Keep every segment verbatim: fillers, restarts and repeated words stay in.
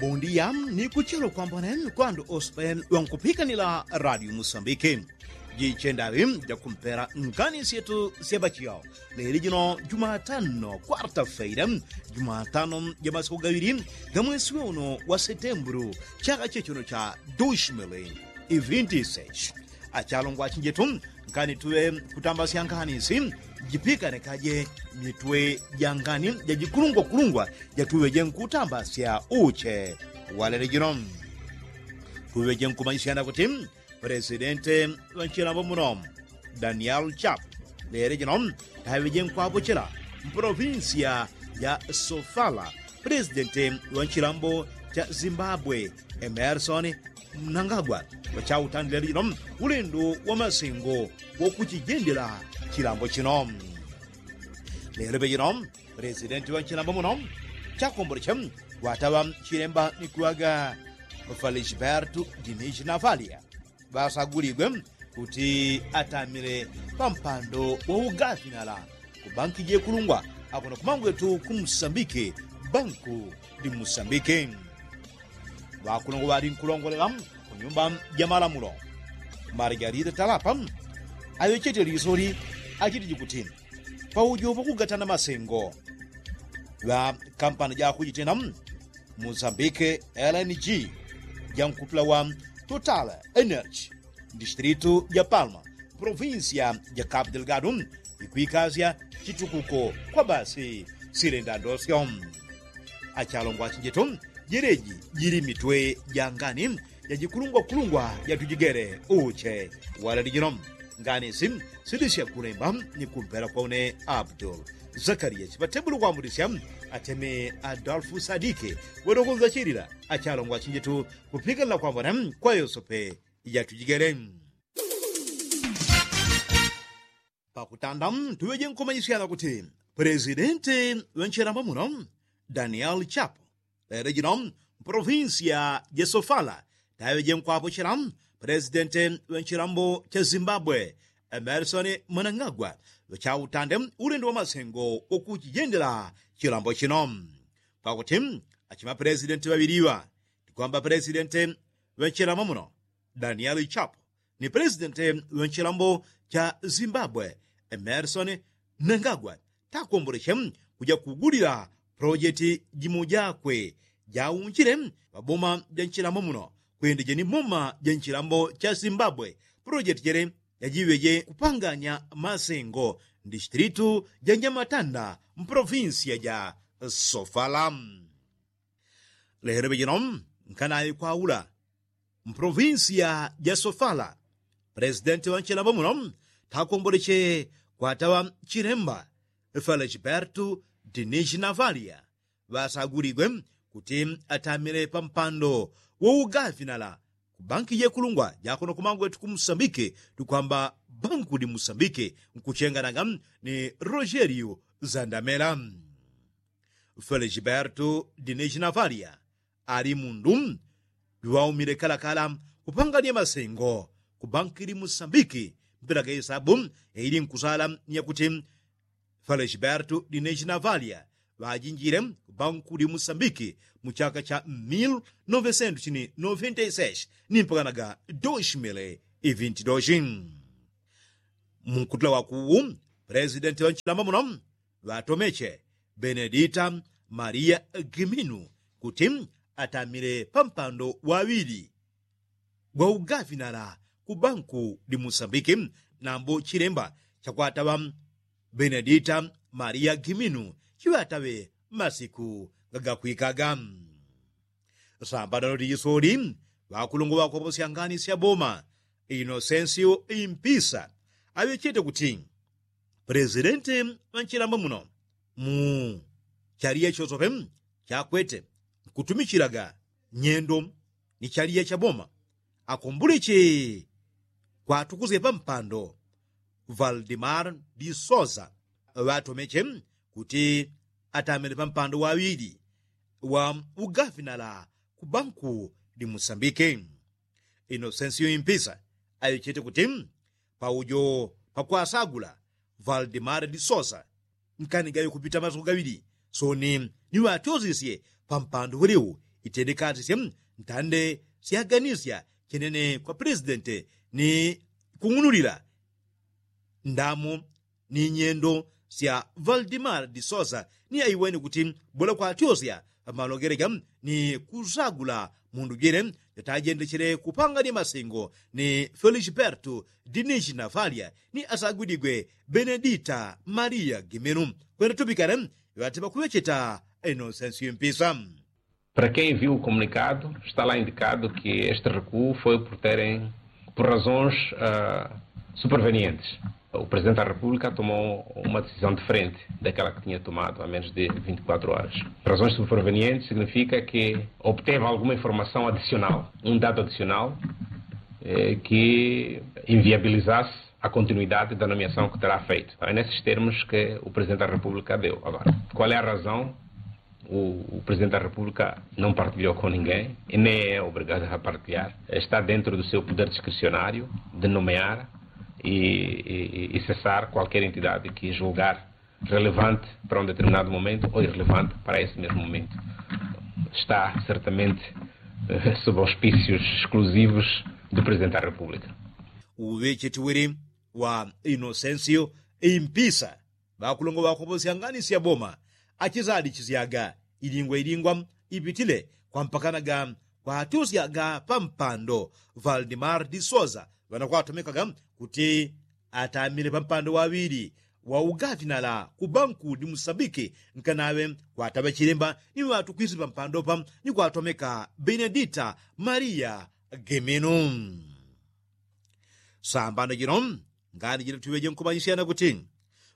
Bondia ni kuchelo kwambone kwandu ospe wankupikanila radio musambike. Jichendawi jakumpela ngani syetu syabachiyao leli jino jumatano kwarta feira, jumatano jamasiku gawili gamwesi weuno wa setemburu chaka chechuno cha dushimili. Ivintisechi achalongwa achinjetu, nkani tuŵe kutambasya ngani si jipikane kaje mitwe ja ngani jajikulungwakulungwa jatuŵe jenkutambasya uche. Walele jino tuŵe jenkumanyisyana kuti presidente wanchilambo muno daniel chap lele jino taŵe jenkwapuchela mpolovinsiya ja sofala presidente wanchilambo cha zimbabwe emerson mnangagwa wachautandile lino ulendo wa masengo wokuchijendela chilambo chino. Lelo pechino presidenti wa chilambo muno chakomboleche wataŵa chilemba ni kuŵaga felisbertu dinichi navalia ŵasaguligwe kuti atamile pampando wa ugafinala ku banki jekulungwa akuno kumangwetu ku musambike banku ndi musambike. Ŵakulungwa ŵali nkulongolela ku nyumba ja malamulo margarita talapa aŵechete lisoli achitiji kuti paujo pakugatana masengo ŵa kampani jakujitena musambike lng jankutula wa total energy mdistritu ja palma provinsia ja capu delgado ikwikasya chitukuko kwa basi silenda ndosyo. Achalongwa achinjetu jeleji jili mitwe ja ngani jajikulungwakulungwa jatujigele uche. Walali jino ngani si silisya kulemba ni kumpela kwa une abdul zakariya chipatebulo kwambulisya ateme adolfu sadike wadokonza chilila. Achalongwa achinjetu kupikanila kwambona kwa yosope jatujigele. Pakutanda tuŵeje nkumanyisyana kuti pulesidenti ŵenchilambo muno daniel chapo lelo jino mpolovinsiya ja sofala taŵeje nkwapochela pulesidenti ŵenchilambo cha zimbabwe emersoni mwanang'agwa ŵachautande ulendo wa masengo wokuchijendela chilambo chino. Pakuti achima pulesidenti ŵaŵiliŵa tikwamba pulesidenti ŵenchilambo muno daniel chapo ni pulesidenti ŵa nchilambo cha zimbabwe emerson mnangagwa takomboleche kuja kugulila pulojeti jimo jakwe jaunjile ŵaboma ja nchilambo muno kwende jeni boma ja nchilambo cha zimbabwe. Pulojeti jele jajiŵeje kupanganya masengo mdistritu ja nyamatanda mpolovinsiya ja sofala. Lelo ŵejino nkanaŵe kwaula mpolovinsiya ja sofala pulesidenti ŵa nchilambo muno takomboleche kwataŵa chilemba felisbertu dinichi navalia ŵasaguligwe kuti atamile pampando wougafinala ku banki jekulungwa jakuno kumangwetu ku musambike tukwamba banku di musambike nkuchenganaga ni rogelio zandamela. Felisbertu dinichi navalia ali mundu juŵaumile kalakala kupangania masengo ku banki di musambiki mpila ga isabu yaili nkusala ni yakuti felisbertu dinichi navalia ŵajinjile ku banku di musambiki mu chaka cha mil novesentu chini noventa i seis ni mpakanaga doshi mili ivinti doshi. Munkutula wakuwu pulesidenti ŵa nchilamba muno ŵatomeche benedita maria giminu kuti atamile pampando waŵili gwa ugafinala ku banku di musambiki nambo chilemba chakwataŵa benedita maria giminu chiŵataŵe masiku gagakwikaga. Sambano dijisoli ŵakulungwa ŵakoposya ngani sya boma inosensio impisa aŵechete kuti pulesidenti ŵa nchilamba muno mu chaliya chosope chakwete nkutumichilaga nyendo ni chaliya cha boma akomboleche kwatukusye pampando valdimar di sosa ŵatomeche kuti atamile pampando waŵili wa ugafinala ku banku di musambike. Inosensio impisa aŵechete kuti paujo pakwasagula valdimar di sosa nkanigaŵe kupita masiku gaŵili soni niŵatyosisye pampando ŵelewo itendekatisye ntande syaganisya chenene kwa plesidente ni kung'unulila ndamu ni nyendo sya valdimar disosa ni aiwene kuti bola kwatyosya pamalongelega ni kusagula mundu jwile yatajendechele kupangania masengo ni felisbertu dinishi na falya ni asagwidigwe benedita maria giminu kwenda tupikale ŵatiŵa kuŵecheta inosensi mpisa. Para quem viu o comunicado, está lá indicado que este recuo foi por terem por razões supervenientes. O presidente da república tomou uma decisão diferente daquela que tinha tomado há menos de vinte e quatro horas. Razões supervenientes significa que obteve alguma informação adicional, um dado adicional que inviabilizasse a continuidade da nomeação que terá feito. É nesses termos que o presidente da república deu. Agora, qual é a razão? O presidente da república não partilhou com ninguém e nem é obrigado a partilhar. Está dentro do seu poder discricionário de nomear e cessar qualquer entidade que julgar relevante para um determinado momento ou irrelevante para esse mesmo momento. Está certamente sob auspícios exclusivos do presidente da república. Uŵechetiwili wa inosensio impisa ŵakulongo ŵakoposyangani syaboma achisadichisyaga ilingwa ilingwa ipitile kwampakanaga kwatyusyaga pampando valdimar disosa ŵanakwatomekaga kuti atamile pampando waŵili wa ugafinala kubanku ni musambiki nkanaŵe kwataŵa chilemba ni ŵatu kwisi pampando pa ni kwatomeka benedita maria geminu. Sambano jino ngani jino tuŵeje nkumanyisyana kuti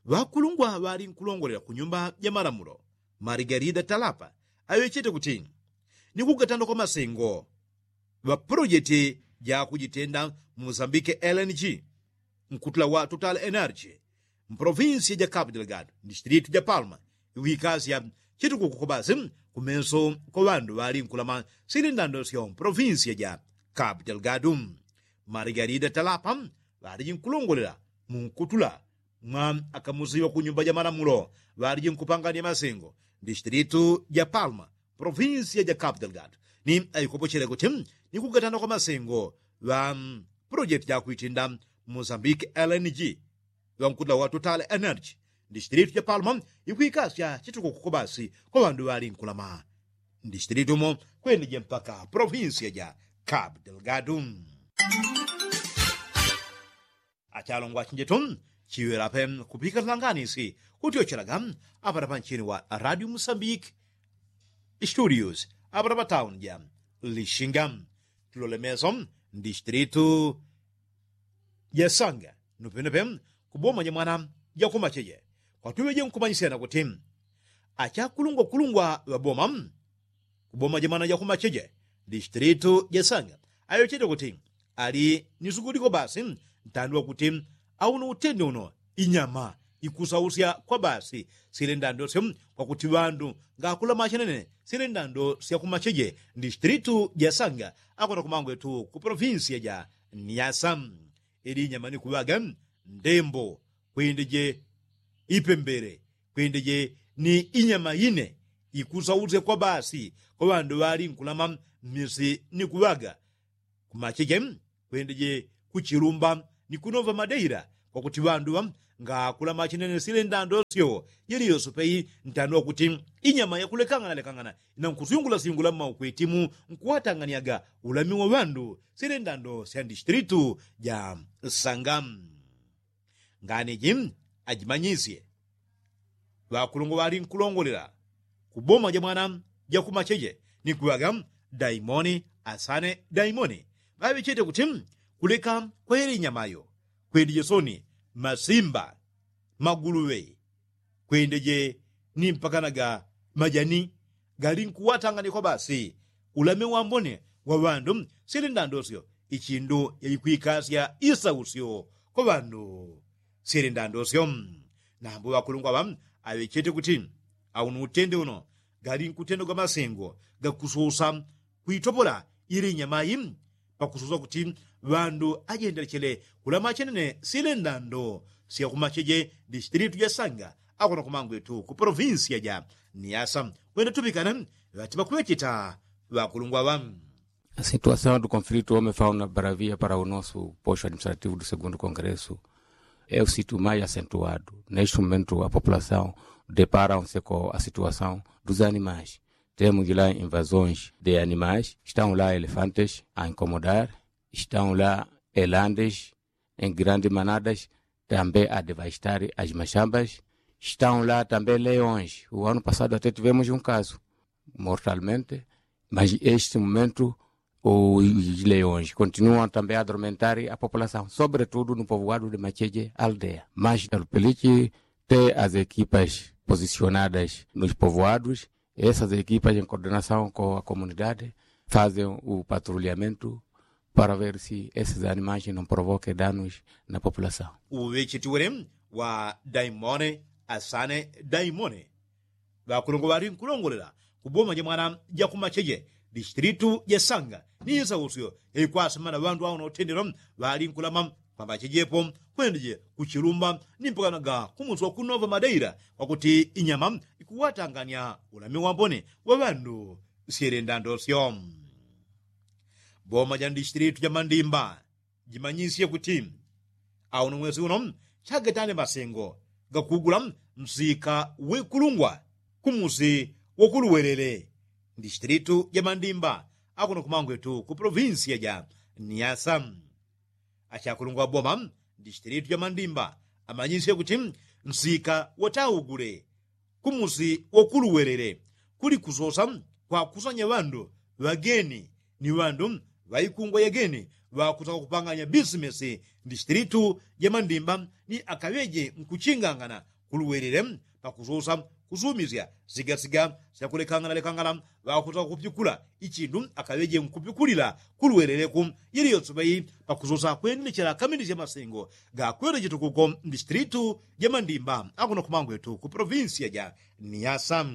ŵakulungwa ŵali nkulongolela ku nyumba ja malamulo marigarida talapa aŵechete kuti ni kugatanda kwa masengo ŵa polojeti ja kujitenda mu musambike lng nkutula wa total energy mpolovinsiya ja capu delgado mdistilitu ja palma ikwikasya chitukuku kwa basi kumenso kwa ŵandu ŵali nkulama sili ndando syo mpolovinsiya ja capu delgado. Marigarida talapa ŵaliji nkulongolela mu nkutula mwa akamusiwa ku nyumba ja malamulo ŵaliji nkupangania masengo mdistilitu ja palma provinsiya ja capu delgado ni aikopochele kuti ni kugatana kwa masengo ŵa polojeti ja kwitinda mosambiki lng ŵankutula wa total energy mdistilitu ja palma ikwikasya chitukuku kwa basi kwa ŵandu ŵali nkulama mdistilitu mo kwendeje mpaka provinsiya ja capu delgado. Achalongwa chinjetu chiŵela pe kupika tulanganisi kutyochelaga apata panchini wa radio musambiki studios apata patauni ja lishinga tulolemeso mdistilitu ja sanga nupenope kuboma ja mwana ja kumacheje kwatuŵeje nkumanyisyana kuti achakulungwa kulungwa ŵaboma kuboma ja mwana ja kumacheje distilitu ja sanga ayochete kuti ali ni suguliko basi ntandi wakuti auno utende uno inyama ikusausya kwa basi sile ndando syo kwakuti ŵandu ngakulama chenene sile ndando sya kumacheje distilitu ja sanga akona kumangwetu ku polovinsiya ja niasa ili inyama ni kuŵaga ndembo kwendeje ipembele kwendeje ni inyama ine ikusausya kwa basi kwa ŵandu ŵali nkulama mmisi ni kuŵaga kumacheje kwendeje kuchilumba ni kunova madeira kwakuti ŵandu ŵa ngakulama chinene sile ndando syo yeliyoso peyi ntandi wakuti inyama yakulekang'ana lekang'ana inankusyungula syungula mmaukwetimu nkuwatang'anyaga ulami wa ŵandu sile ndando sya distilitu ja sanga. Ngani ji ajimanyisye ŵakulungwa ŵali nkulongolela kuboma ja mwana ja kumacheje ni kuŵaga daimoni asane daimoni ŵaŵechete kuti kuleka kwa yele inyamayo kwendeje soni masimba maguluŵe kwendeje ni mpakanaga majani galinkuwatanganikwa basi ulame wambone wa ŵandu sili ndandosyo ichindu yaikwikasya isausyo kwa ŵandu sili ndandosyo. Nambo ŵakulungwa ŵa aŵechete kuti aunu utende uno galinkutendagwa masengo gakususa kwitopola ili inyamayi pakususa kuti ŵandu ajendelechele kulama chenene sile ndando sya kumacheje distilitu ja sanga akona kumangwetu ku polovinsiya ja niasa kwenda tupikana ŵati ŵakuŵecheta ŵakulungwa ŵa. Asituasaun du konflitu ome fauna baravia para unosu posho administrativu du segundu kongresu. Eu situ mai asentuadu naisu mumentu apopulasaun deparaun seko asituasaun duzani mashi. Temu jila invazonshi de animashi staun la elefanteshi ainkomodari staun la elandeshi en grandi manadashi tambe adevastari ajimashambashi staun la tambe leonshi uwanu pasadu ateti vemushi unkasu mortalmente. Maji esti mumentu ujileonshi kontinuan tambe adormentari apopulasaun sobretudu nupovuadu de macheje aldea maji alupilichi te azekipashi pozisionadas nujipovuadushi. Esas ekipas en kordenasaun ko akomunidade fazen upatrulliamentu para ver si esas animashi non provoke danushi na populasaun. Uŵechetiwele wa daimone asane daimone ŵakulungwa ŵali nkulongolela kuboma ja mwana ja kumacheje distilitu ja sanga ni isausyo yaikwasima na ŵandu awo na utendelo ŵali nkulama kwamba chejepo kwendeje kuchilumba ni mpakanaga kumusi wa kunova madeila kwakuti inyama ikuwatanganya ulami wambone wa ŵandu syelenda ndosyo. Boma ja ndistilitu ja mandimba jimanyisye kuti auno mwesi uno chagetane masengo gakugula msika wekulungwa kumusi wakuluwelele ndistilitu ja mandimba akuno kumangwetu ku polovinsiya ja niasa. Achakulungwa boma ndistilitu ja mandimba amanyisye kuti msika wataugule kumusi wakuluwelele kuli kusosa kwakusanya ŵandu ŵageni ni ŵandu ŵaikungwa yageni ŵakusaka kupanganya bisimesi ndistilitu ja mandimba ni akaŵeje nkuchingangana kuluwelele pakusosa kusumisya sigasiga syakulekangana lekangana ŵakusaka kupyukula ichindu akaŵeje nkupikulila kuluweleleku. Yeliyonse ŵai pakusosa kwendelechela kaminisya masengo gakwelechetu kuko mdistilitu ja mandimba akuno kumangwetu ku polovinsiya ja niasa.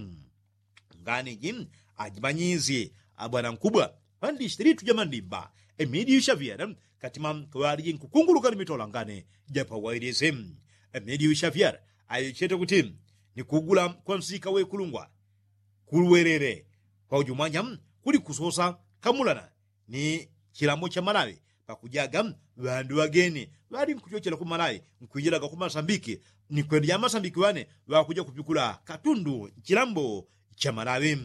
Ngani ji ajimanyisye abwana nkubwa pa ndistilitu ja mandimba emidiyu shavyera katima kaŵaliji nkukunguluka ni mitola ngani ja pawailisi. Emidiyu shavyera ayo chete kuti ni kugula kwa msika wekulungwa kuluwelele kwa ujumwanya kuli kusosa kamulana ni chilambo cha malawi pakujaga ŵandu ŵageni ŵali nkuchochela ku malawi nkwijilaga ku masambiki ni kwenda ja masambiki ŵane ŵakuja kupikula katundu chilambo cha malawi.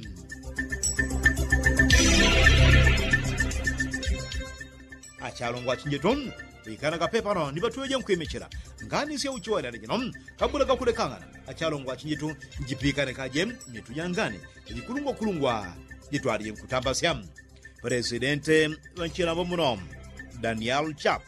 Achalongwa chinjetu pikana kapepano ni ŵatuŵeje nkwimechela ngani sya uchiwalila jino kabula gakulekangana achalongwa chinjetu njipikane kaje mitu ja ngani jikulungwakulungwa jitwalije nkutambasya. Pelesidenti ŵa nchilambo muno daniel chap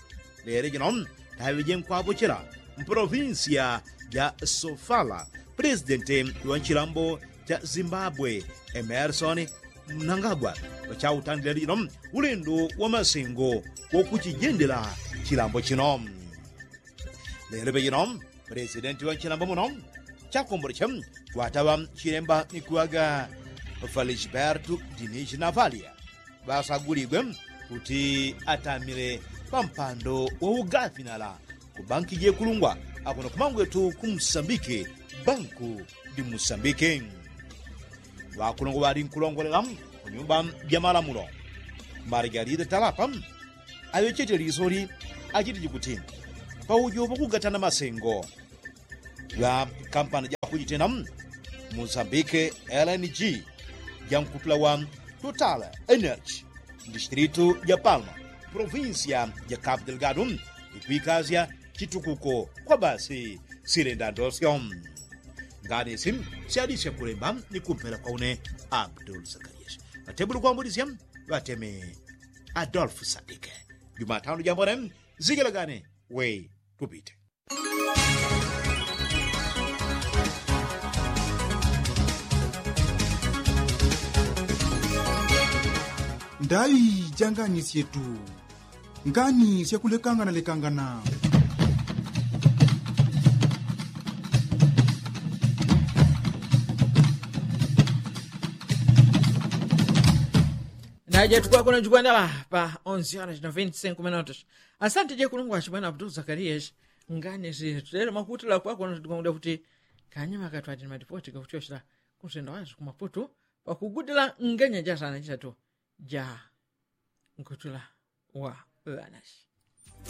lelo jino taŵeje nkwapochela mpolovinsiya ja sofala pelesidenti ŵa nchilambo cha zimbabwe emersoni mnangagwa ŵachautandile lelo jino ulendo wa masengo wokuchijendela chilambo chino. Lelo pejino pelesidenti ŵa nchilambo muno chakomboleche kwataŵa chilemba ni kuŵaga felisbertu dinishi navalia ŵasaguligwe kuti atamile pa mpando wa ugafinala ku banki jekulungwa akuno kumangwetu ku musambiki banku di musambiki. Ŵakulungwa ŵali nkulongolela ku nyumba ja malamulo margarida talapa aŵechete lisoli achitiji kuti paujo pakugatana masengo ŵa kampani ja kujitena mozambike lng ja nkupila wa total energy mdistilitu ja palma provinsiya ja capu delgado ikwikasya chitukuko kwa basi silenda ndosyo. Ngani isi syalisya kulemba ni kumpela kwa une abdul zakarias ŵatebuli kwambulisya ŵateme adolfu sadike jumatano jambone zigelagane we tupite. Ndai ja ngani syetu ngani syakulekangana lekangana. Naje tukwakuna jukwanela pa onse horas na venti cinco minutos. Asante je kulungwa chibwana abdul zakarias. Ngani si tutele makutila kwakuna tukwakuna kuti kanyima katwati ni matipoti kakutyoshela kunsenda wazi kumaputu pakugudila nganya jasana jitatu. ja nkutula wa ŵanasi.